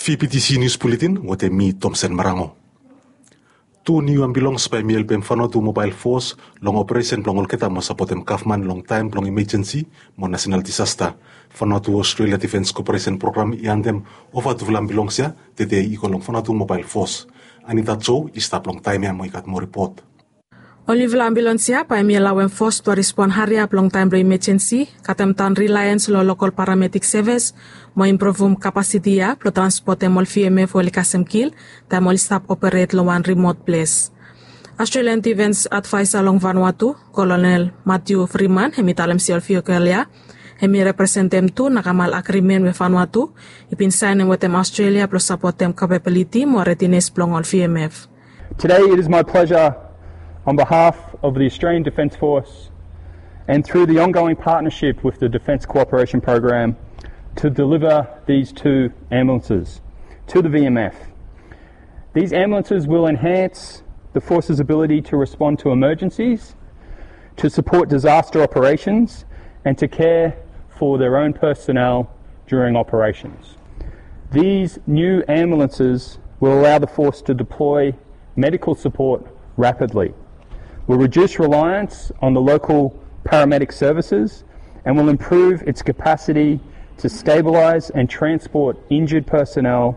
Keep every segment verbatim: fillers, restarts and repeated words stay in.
P P T C News Bulletin wetem mi Tomsen Marango. Tu niu ambilongs bae hemi helpem Vanuatu Mobile Force long operesen blong olgeta mo sapotem gavman long taem blong imejensi mo nasenal disasta. Vanuatu Australia Defence Cooperation Program i handem ova tufala ambilongs ia tede i go long Vanuatu Mobile Force. Anita Joe i stap long taem ia mo i gat moa ripot. Ol niufala ambulans ia bae hemi alaoem fos blong respon hariap long taem blong imejensi, katem daon reliance long lokol paramedik sevis, mo impruvum kapasiti ia blong transpotem ol V M F we oli kasem kil taem oli stap operet long wan rimot ples. Australian Defence Adviser long Vanuatu, Kolonel Matthew Freeman, hemi talem se ol viokol ia hemi representem tu nakamal agrimen we Vanuatu i bin saenem wetem Australia blong sapotem kapabiliti mo redines blong ol V M F. Today, it is my pleasure, on behalf of the Australian Defence Force and through the ongoing partnership with the Defence Cooperation Program, to deliver these two ambulances to the V M F. These ambulances will enhance the force's ability to respond to emergencies, to support disaster operations, and to care for their own personnel during operations. These new ambulances will allow the force to deploy medical support rapidly, will reduce reliance on the local paramedic services, and will improve its capacity to stabilise and transport injured personnel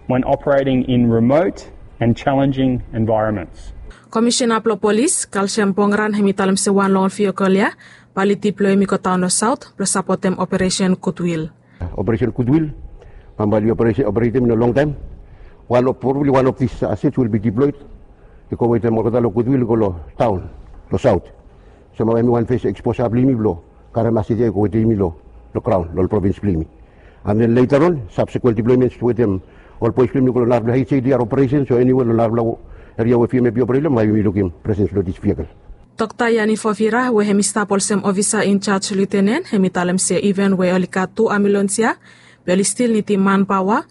when operating in remote and challenging environments. Komisena blong polis, Kalsiam Pongran, hemi talem se wan long ol viokol ia bae oli diploem i go daon long saot blong sapotem operesen Goodwill. Operesen Goodwill, bae oli operetem in a long time. One of, probably one of these assets will be deployed i go wetem olgeta long Goodwill i go long taon, long saot. Sem bae hemi wan fes eksposa blong yumi blong karem asset ia i go wetem yumi long graon long provins blong yumi. And then later on, subsequent deployments wetem ol boys blong yumi i go long narafala H A D R operations o anywhere long narafala eria we V M F i operate long, bae yumi lukim presence blong this vehicle. Dokta Yani Fofira, we hemi stap olsem ofisa in charge lieutenant, hemi talem se iven we oli gat tu ambulans ia, be oli stil nidim manpaoa,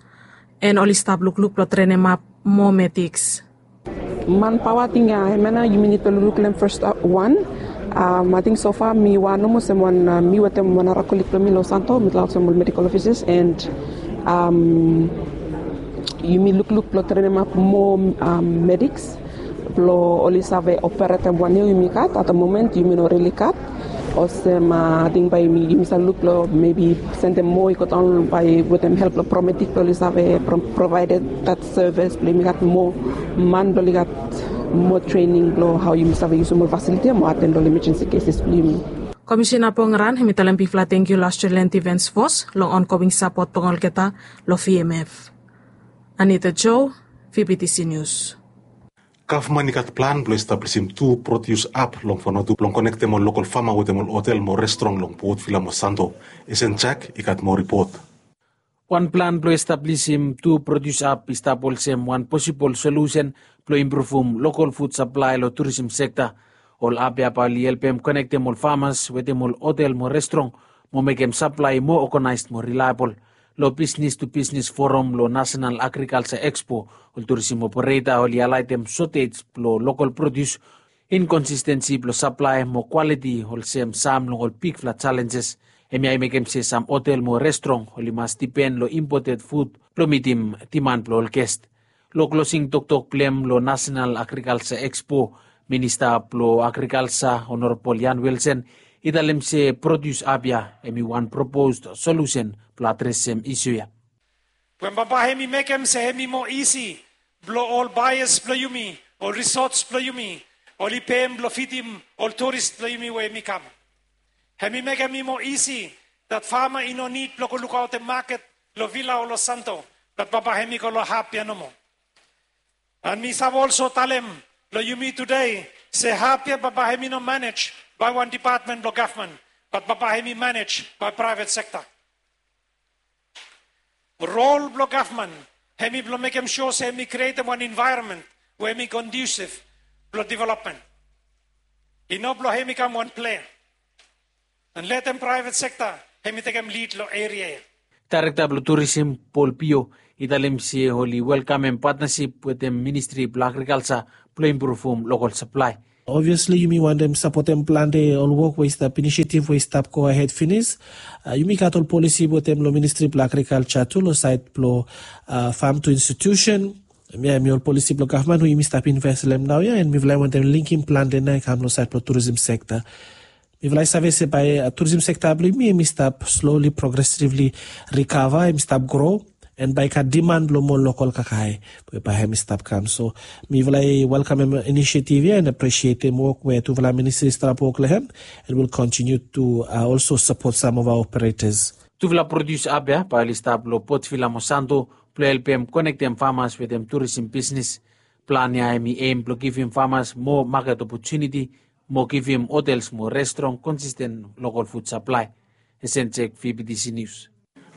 and oli stap lukluk blong trenemap moa medics. Manpaoa ting ia, hemia nao yumi nid blong lukluk long hem fes wan. Ating so fa mi wan nomo olsem wan, mi wetem wan nara kolig blong mi long Santo, mitufala olsem ol medical officers, and yumi lukluk blong trenemap moa medics blong oli save operetem wan ia we yumi gat. At the moment yumi no rili gat. Olsem ating bae yumi save luk blong maybe sendem moa i go daon bae wetem help blong paramedic blong oli save provaeded that service blong yumi gat moa man blong oli gat moa trening blong hao yumi save yusum ol fasiliti ia mo aten long ol emergency cases blong yumi. Komisena Pongran hemi talem bigfala tangkiu long Australian Defence Force long ongoing sapot blong olgeta long V M F. Anita Joe, V B T C News. Gavman i gat plan blong establisim tu produce hub long Vanuatu blong konektem ol lokol fama wetem ol hotel mo restrong long Port Vila mo Santo. Esen Jack i gat moa ripot. Wan plan blong establisim tu produce hub i stap olsem wan posibol solusen blong impruvum lokol fud saplae long turism sekta. Ol hub ia bae oli helpem konektem ol famas wetem ol hotel mo restrong mo mekem saplae moa oganaes mo rilaebol. Long Business to Business Forum long Nasenal Agrikalsa Ekspo, ol turism opereta oli haelaetem sotej blong lokol produs, inkonsistensi blong saplae mo kwaliti olsem sam long ol bigfala jalenjes. Hemia i mekem se sam hotel mo restrong oli mas dipen long impoted fud blong mitim diman blong ol gest. Long klosing toktok blong hem long Nasenal Agrikalsa Ekspo, Minista blong Agrikalsa Honorabol Ian Wilson i talem se produs hub ia hemi wan proposed solusen blong adresem isu ia. We bambae hemi mekem se hemi moa isi blong ol baeas blong yumi, ol resorts blong yumi, oli pem blong fidim ol turis blong yumi we hemi kam. Hemi mekem i moa isi dat fama i no nid blong go lukaotem maket long Vila o long Santo, bat bambae hemi go long hub ia nomo. And mi save olso talem long yumi tede se hub ia bambae hemi no manej bae wan dipatmen blong gavman, bat bambae hemi manej bae praevet sekta. Rol blong gavman hemi blong mekem sua se hemi krietem wan envaeronmen we hemi conducive blong developmen. I no blong hemi kam wan plea and letem praevet sekta hemi tekem lid long eria ia. Daerekta blong turism Paul Pio i talem se oli welkamem patnasip wetem Ministri blong Agrikalsa blong impruvum lokol saplae. Obviously yumi wantem sapotem plante ol wok we i stap, inisiativ we i stap go ahed finis. Yumi gat ol polisi wetem long ministri blong agrikalja tu long saed blong fam tu institusen. Em ya em i ol polisi blong gavman we yumi stap inves long em naoia, en mifala i wantem linkim plante nao i kam long saed blong turism sekta. Mifala i save se bae turism sekta blong yumi em i stap sloli progresivli rikava, em i stap gro, en bae i gat diman blong moa lokol kakae we bae em i stap kam. So mifala i welkamem inisiativ ya en apresietem wok we tufala ministri i stap wok long em, en wil kontiniu tu olso sapot sam of aoa operetas. Tufala prodius ap ya bae oli stap long Port Vila mo Santo blong helpem konektem famas wetem turism bisnis. Plan ya em i em blong givim famas moa maket opotuniti mo givim hotels mo restoran konsisten lokol fud saplae. Esen Jek, V B T C Nius.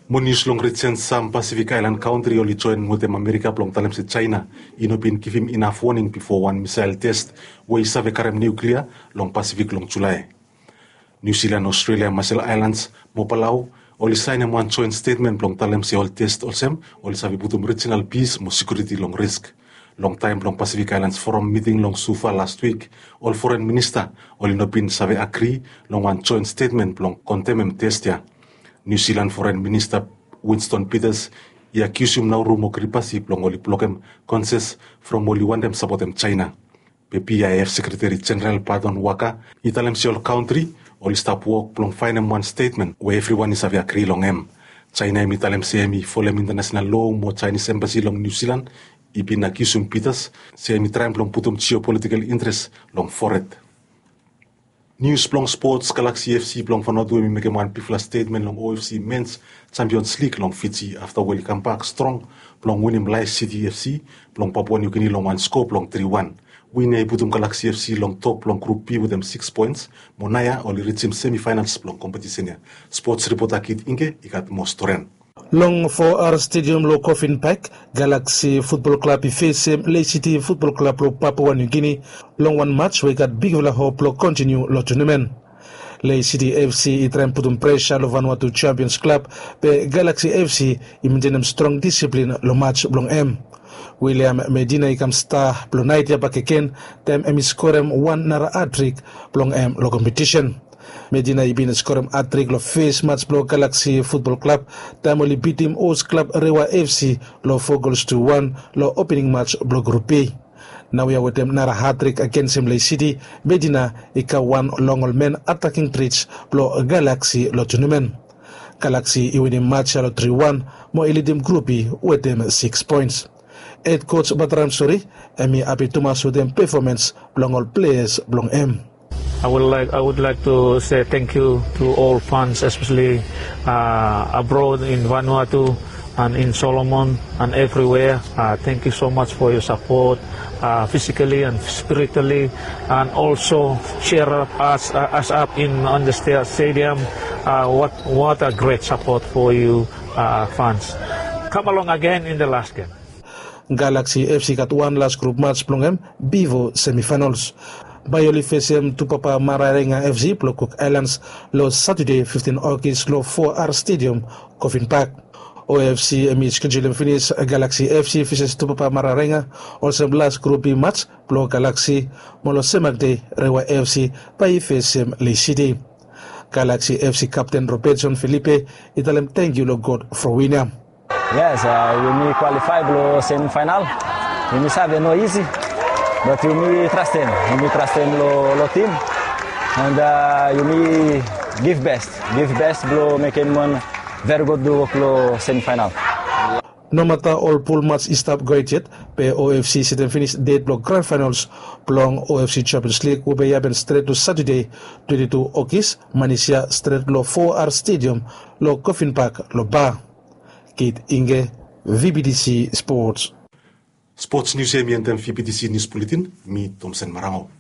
Mo nius long rijens, sam Pasifik aelan kantri oli joen wetem Amerika blong talem se Jaena i no bin givim inaf woning bifo wan misael tes we i save karem niuklia long Pasifik long Julae. Niu Silan, Ostrelia, Masel Aelans mo Palau oli saenem wan joen stetmen blong talem se ol tes olsem oli save putum rijinal pis mo sekiuriti long risk. Long taem blong Pasifik Aelans Foram miting long Suva lastwik, ol foren minista oli no bin save agri long wan joen stetmen blong kondemem tes ya. Niu Silan foren minista Winston Peters i akiusum Nauru mo Kiribati blong oli blokem konses from oli wantem sapotem Jaena. Be B I F Sekretari Jeneral Pardon Waka i talem se ol kantri oli stap wok blong faenem wan stetmen we evriwan i save agri long hem. Jaena hem i talem se hem i folem intanasenal loa mo Jaenis embasi long Niu Silan i bin akiusum Peters se hem i traem blong putum jiopolitikal intres long fored. Nius blong spots, Galaksi FC blong Vanuatu hem i mekem wan bigfala stetmen long O F C Mens Champions League long Fiji afta we oli kambak strong blong winim Lae City FC blong Papua Niu Gini long wan skoa blong tri wan. Win ya i putum Galaksi FC long top blong Grup B wetem sikis poens, mo naoia oli rijim semifaenals blong kompetisen ya. Spots ripota Kit Inge i gat moa storian. Long Foa Ar Stediam long Kofin Pak, Galaksi Futbol Klab i fesem Lae City Futbol Klab long Papua Niu Gini long wan maj we i gat bigfala hop blong kontiniu long tunamen. Lae City FC i traem putum presa long Vanuatu Champions Klab, be Galaksi FC i mentenem strong disiplin long maj blong hem. William Medina i kam sta blong naet ya bakegen taem hem i skorem wan nara hatrik blong hem long kompetisen. Medina i bin skorem hatrik long fes maj blong Galaksi Futbol Klab taem oli bitim hos klab Rewa FC long fo gols tu wan long opening maj blong Grup B. Naoia wetem nara hatrik agensem Lae City, Medina i kam wan long ol men ataking trits blong Galaksi long tunamen. Galaksi i winim maj ya long tri wan mo i lidim Grup B wetem sikis poens. Hed koj Batram Sori hem i hapi tumas wetem pefomans blong ol pleas blong hem. I would like, I would like to say thank you to all fans, especially, uh, abroad in Vanuatu and in Solomon and everywhere. Uh, thank you so much for your support, uh, physically and spiritually, and also cheer up us, uh, us up in on the sta-, stadium. Uh, what, what a great support for you, uh, fans. Come along again in the last game. Galaksi FC i gat wan las grup maj blong hem bifo semifaenals. Bae oli fesem Tupapa Maraerenga FC blong Cook Islands long Satade fiftin Ogis long Foa Ar Stediam, Kofin Pak. O F C hem i skejulem finis Galaksi FC feses Tupapa Maraerenga olsem las grup B maj blong Galaksi, mo long semagde Rewa FC bae i fesem Lae City. Galaksi FC kapten Robertson Felipe i talem tangkiu long God fo win ya. Yes, uh, yumi kwalifae blong semifaenal. Yumi save no isi, but yumi trastem. Yumi trastem long, long tim. And, uh, yumi give best. Give best blong mekem wan very good wok long semifaenal. Nomata ol pul maj i stap gohed yet, be O F C i setem finis det blong gran faenals blong O F C Champions League we bae i hapen stret long Satade twenti tu Ogis, manis ya stret long Foa Ar Stediam long Kofin Pak long Ba. Kit Inge, V B T C Sports. Spots nius ya hem i endem V B T C Nius Buletin. Mi Tomsen Marango.